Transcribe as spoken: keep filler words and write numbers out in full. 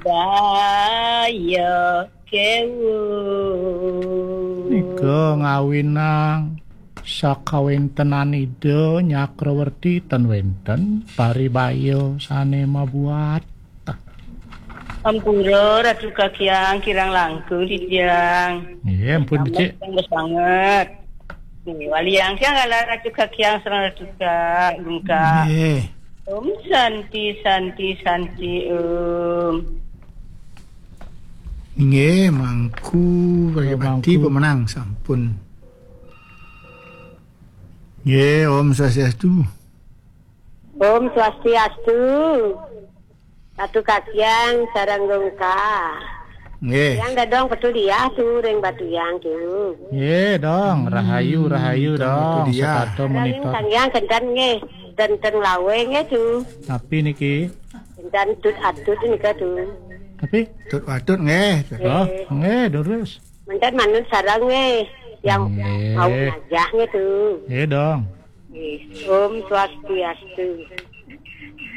Baya kewu. Nika ngawinang sakawentenan Ida Nyakrawerti ten wenten paribaya sane mabuat. Ampura Ratu Kakyang kirang langkung titiang. Nggih, ampun becik. Sangat. Nggih, waliang tiang kala Ratu Kakyang sareng Ratu Kak Gungkak. Nggih. Om Santi, Santi, Santi, Om. Nggih, mangku kaya Nggih, mati mangku. Pemenang sampun. Nggih, Om Swastiastu. Om Swastiastu. Ratu Kakyang sareng Gungkak. Nggih. Yang dadong petuliah tu ring Batu Yang tu. Nggih, dong. Rahayu, Hmm, rahayu, dong. Petuliah. Setata Sareng monitor. Sang Hyang Kentan nggih. Tenteng lawe nggih tu. Tapi niki. Kentan tut atut nika tu. Tapi? Tut atut nggih. Oh, nggih, terus. Mentan manut sareng nggih. Yang Nggih. Mau ngajah nggih tu. Nggih, dong. Nggih. Om Swastiastu.